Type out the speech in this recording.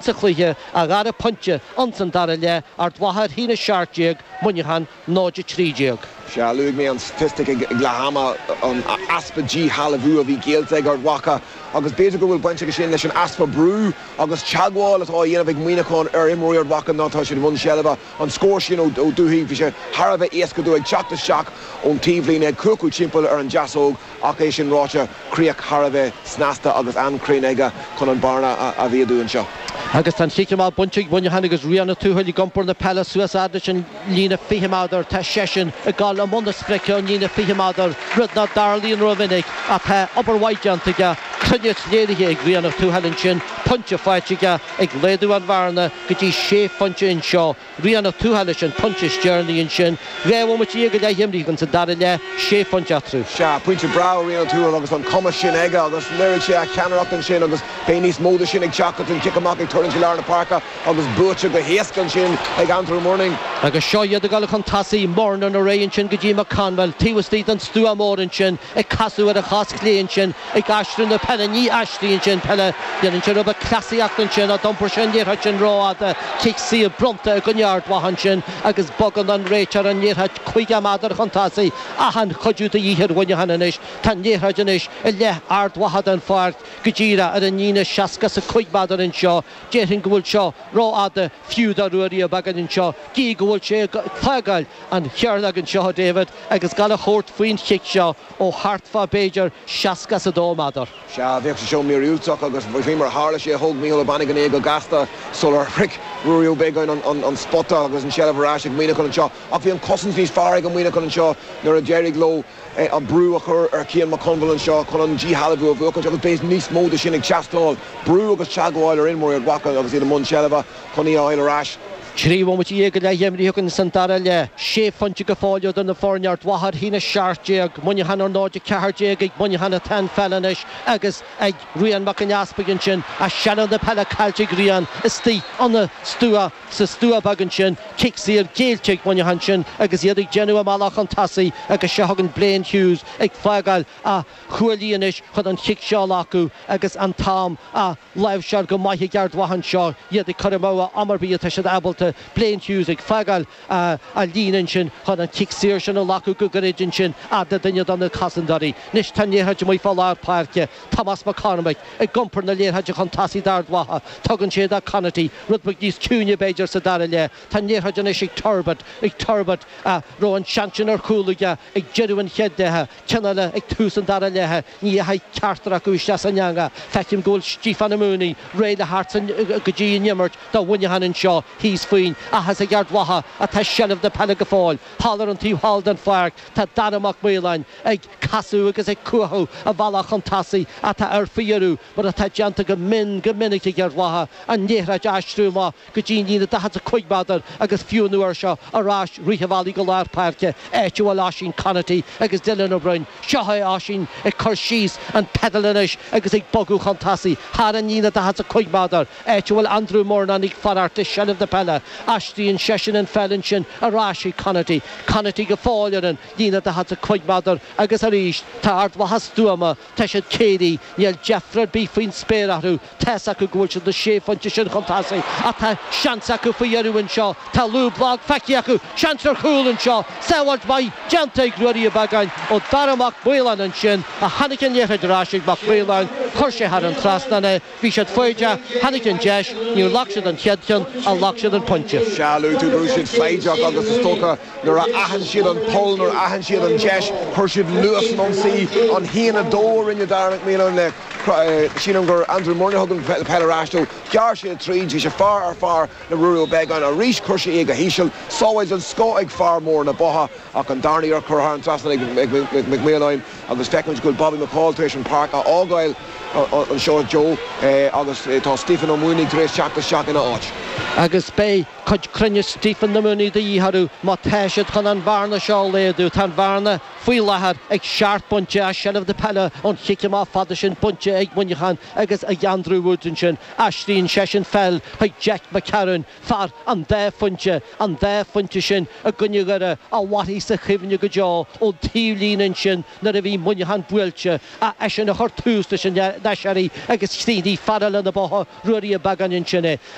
Sa chluiche, a dhara pointe ins an dara leath, Ard Mhacha 1-17, Muineachán 0-13. Sea, luaigh mé an staitistic ag leath ama, an easpa díshealbhú a bhí géillte ag Ard Mhacha agus b'fhéidir go bhfuil baint aige sin leis an easpa brú agus teagmháil atá á dhéanamh ag Muineachán ar imreoirí Ard Mhacha nuair atá siad i mbun seilbhe. An scór sin ó Dubhthaigh, bhí sé thar a bheith éasca dó ag teacht isteach ón taobhlíne, ag cuachadh timpeall ar an deasóg Ach é sin ráite, críoch thar a bheith snasta agus an-chruinn aige chun an bearna a mhéadú anseo. Agus tá an chic amach bainte ag Muineachán agus Rian Ó Tuathail ag iompar na peile suas fhad leis an líne 20 méadar. Tá seisean ag dul i mbun na sprice ón líne 20 méadar, rud ná dtarlaíonn rómhinic ach tá obair mhaith déanta aige, cruinneas léirithe ag Rian Ó Tuathail ansin, pointe faighte aige ag laghdú an bhearna go dtí sé phointe anseo. Rian Ó Tuathail leis an pointe is deireanaí ansin. 12 bhomaite go leith imeartha againn sa dara leath, sé phointe eatarthu. Sea, pointe breá ó Rian Ó Tuathail agus an cumas sin aige agus léirigh sé a cheannaireacht ansin agus beidh níos mó de sin ag teacht agus an cic amach ag tuirlingt i lár na páirce agus buaite go héasca ansin ag Andrew Murnin. Agus seo iad ag dul chun tosaigh, Murnin ar aghaidh ansin go dtí McConville, taobh istigh den stua mór ansin, ag casadh ar a chos chlé ansin, ag aistriú na peile, ní aistríonn sé an peile, déanann sé rud beag cleasaíochta ansin ach d'iompair sé an liathróid sin rófhada, cic saor bronnta i gcoinne Ard Mhacha ansin agus bogann an réiteoir an liathróid 50 méadar chun tosaigh, achan chuidiú de dhíth ar Mhuineachán anois, tá an liathróid anois i leith Ard Mhacha den pháirc go díreach ar an líne 65 méadar anseo, déarfainn go bhfuil seo rófhada fiú do Ruairí Ó Beagáin anseo, gídh go bhfuil sé ag fágáil an chearnóg anseo a David agus ag gabháil a thabhairt faoin chic seo ó thart fá b'fhéidir 62 méadar. Sea, bheadh sé seo míorúilteach agus faoi mar a tharla sé, thóg Mícheál Ó Bannagáin é go gasta sular shroich Ruairí Ó Beagáin an spota agus an tseilbh ar ais ag Muineachán anseo. Ach bhí an chosaint níos fearr ag an Muineachán anseo nuair a d'éirigh leo an brú a chur ar Chian McConville anseo chun an díshealbhú a bhuachaint agus beidh níos mó de sin ag teastáil, brú agus teagmháil ar imreoirí Ard Mhacha agus iad i mbun seilbhe chun í a fháil ar ais. 13 bhomaite go leith imeartha againn san dara leath. Sé phointe go fóill idir na foirne, Ard Mhacha 1-17, Muineachán ar 0-14 ag Muineachán atá an pheil anois agus ag Rian Mac an Easpaig ansin ach seilbh na peile caillte ag Rian istigh ina stua sa stua beag ansin. Cic saor géillte ag Muineachán ansin agus iad ag déanamh a mbealach chun tosaigh agus seo chugainn Blaine Hughes ag fágáil a chuaillí anois chun an chic seo a ghlacadh agus an t-am á láimhseáil go maith ag Ard Mhacha anseo, iad ag cur amú am ar bith atá siad ábalta. Blaine Hughes ag fágáil a líne ansin chun an cic saor sin a ghlacadh go gairid ansin fhad le duine de na cosantóirí. Anois tá an liathróid amuigh fá lár páirce. Tomás Mac Cormaic ag iompar na liathróide chun tosaigh d'Ard Mhacha. Tugann sé do Conaty, rud beag níos ciúine b'fhéidir sa dara leath. Tá an liathróid anois ag Turbitt, ag Turbitt a raibh an seans sin ar chúl aige ag deireadh an chéad leatha, ceann eile ag tús an dara leatha. Ní dheachaigh ceachtar acu isteach san eangach. Feicim go bhfuil Stiofán Ó Maonaigh réidh le theacht go dtí an imirt do Mhuineachán anseo thíos faoin. Ach is ag Ard Mhacha atá seilbh na peile go fóill. Thall ar an taobh thall den pháirc tá Dara Mac Maoláin ag casadh agus ag cuachadh a bhealach chun tosaigh ach tá air faoi dheireadh, mar atá déanta go mion go minic ag Ard Mhacha, an liathróid a aistriú amach go dtí an líne 45 méadar agus fiú an uair seo ar ais rith an bhealaigh go lár páirce, áit a bhfuil Oisín Conaty agus Dylan Ó Broin. Seo é Oisín ag cur síos an pedal anois agus ag bogadh chun tosaigh thar an líne 45 méadar, áit a bhfuil Andrew Murnin ag fanacht le seilbh na peile. Aistríonn seisean an pheil ansin ar ais chuig Conaty. Conaty go fóill ar an líne 45 méadar agus arís tá Ard Mhacha stuama. Tá siad céillí, níl deifre ar bith faoin spéir orthu, tá's acu go bhfuil siad na sé phointe sin chun tosaigh ach tá seans acu faoi dheireadh anseo, tá lúb lag feicthe acu, seans ar chúl anseo, sábháilt mhaith déanta ag Ruairí Ó Beagáin ó Dara Mac Maoláin ansin ach tháinig an liathróid ar ais ag Mac Maoláin, chuir sé thar an trasnán é, bhí siad foighdeach, tháinig an deis, níor ghlac siad an chéad cheann ach ghlac siad an pointe. Sea, luaigh tú go raibh siad foighdeach agus is dócha Nuair a aithin siad an poll, nuair a aithin siad an deis, chuir siad luas san ionsaí. An 1-2 a rinne Dara Mac Maoláin le, sílim gur Andrew Murnin a thug an peil ar ais dó. Ghearr sé tríd, bhí sé fear ar fear le Ruairí Ó Beagáin arís, chuir sé é go híseal. Sábháil den scoth ag fear mór na Botha ach an darna iarracht curtha thar an trasnán ag Mac Maoláin agus feicimid go bhfuil Bobby McCaul tar éis an páirc a fhágáil anseo, Joe, agus tá Stephen Ó Maonaigh tar éis teacht isteach ina áit. Agus beidh cuid cruinnis Stephen na Mooney de dhíth orthu má tá siad chun an bhearna seo a laghdú. Tá an bhearna faoi láthair ag seacht bpointe as seilbh na peile ón chic amach fada sin bainte ag Muineachán agus ag Andrew Woods ansin. Aistríonn seisean peil chuig Jack McCarron, fear an dá phointe, an dá phointe sin i gcoinne Dhoire a mhairfidh sa chuimhne go deo ón taobhlíne ansin nuair a bhí Muineachán buailte, eisean a chuir tús leis an aiséirí agus chríochnaigh fear eile na Botha, Ruairí Ó Beagáin ansin é.